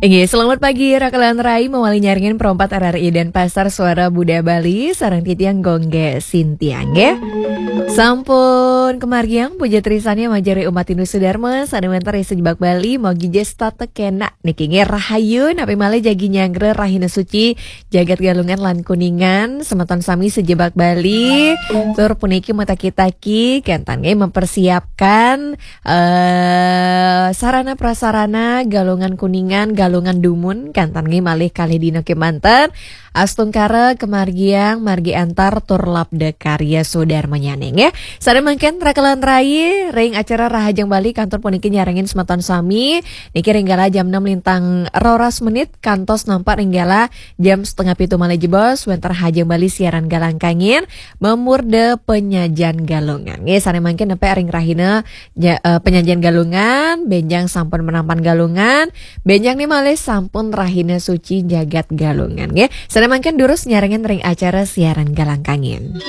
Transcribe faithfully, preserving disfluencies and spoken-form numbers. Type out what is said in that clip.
Inggih, selamat pagi, Raka lan Rai, mawali nyarengin perempat R R I Denpasar Suara Budaya Bali, sareng titiang Gongge Sintiang, nggih. Sampun kemargiang puja trisanya majeng ring umat Hindu Sudarma, sane wenten ring sajebag Bali, mogi jagi tetep kenak niki nggih rahayu, napi malih jagi nyanggra rahina suci, jagat Galungan lan Kuningan, semeton sami sajebag Bali, tur puniki mataki-taki, kenten nggih mempersiapkan eh, sarana prasarana Galungan Kuningan, Galungan dumun, kenten nggih malih kalih dina kemanten. Astungkara kemargiang margi antar tur labda karya Sudarmanyane nggih. Sane mangkin Raka lan Rai ring acara Rahajeng Bali kantun puniki nyarengin semeton sami. Niki ring galah jam enam lintang roras menit kantos nampak ring galah jam setengah pitu malih jebos wenten Rahajeng Bali siaran Galang Kangin, mamurda penyajian Galungan. Nggih, sane mangkin nepek ring rahina ja- eh, penyajian Galungan, benjang sampun menampan Galungan, benjang ni malih sampun rahina suci jagat Galungan, nggih. Sane mangkin durus nyarengin ring acara siaran Galang Kangin.